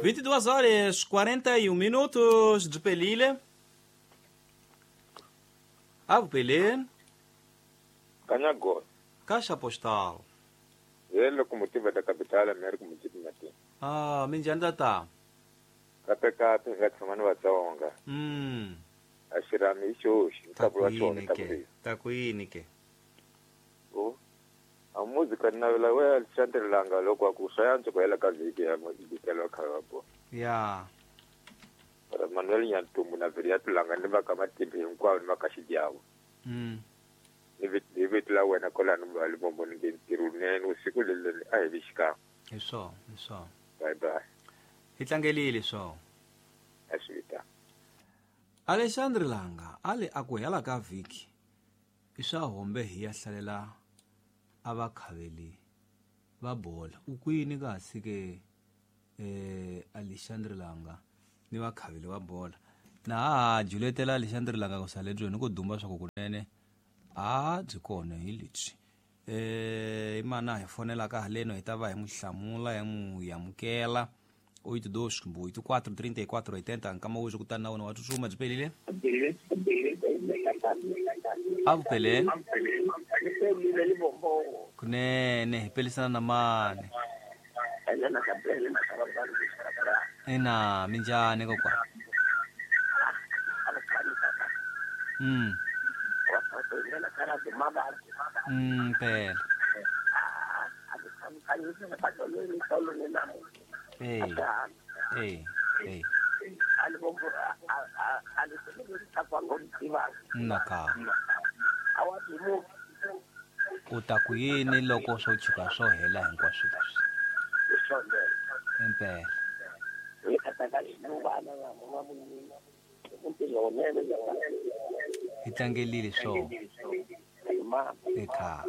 22 horas 41 minutos de Pelile. Avo Pelé, Kanyago, Caixa Postal. ye locomotiva da capital America Mujibu Mati. Ah, minjhani tata? Kape kape nga tshama ni Vatsonga. A xirhami hi xoxi, Ta nkapu wa ku xona yini ta ke? ku Ta ku yini ke? O. A muzika ni navela we Alexandre Langa loko a ku swa yantswa ku hela ka vhiki ya bikelo kha va bo. Ya. Para Manuel Nyantumbu na Viriato Langa ni va ka matimba hinkwavo ni va ka xidyavo. Ni hi vito la wena kwalano va Limpopo ni nge ntirho wunene usiku leli a hi vi xikan'we. Hi swona, hi swona. Bye bye. Hi tlangelile swona. A swi vitana. Alexandre Langa a le a ku hela ka vhiki i swa hombe hi ya hlalela a vakhaveli va bola. U kwini kasi ke Alexandre Langa ni vakhaveli va bola. Na ha juletela Alexandre Langa ku sale byoni ku dumba swa ku kunene a byi kona hi lebyi. I mana hi fonelaka haleno hi ta va hi n'wi hlamula hi n'wi amukela. 82 kumbe 84 34 80 nkama wo kutani na wona wa tsutsuma byi pelile. A vupeleni kunene hi pelisana na mani. Ina minjhani kokwana? Phela. Eh. Eh. Eh. Naka. U ta ku yini loko swo tshuka swo hela hinkwaswo leswi? Impela. Hi tlangelile swona. Eka.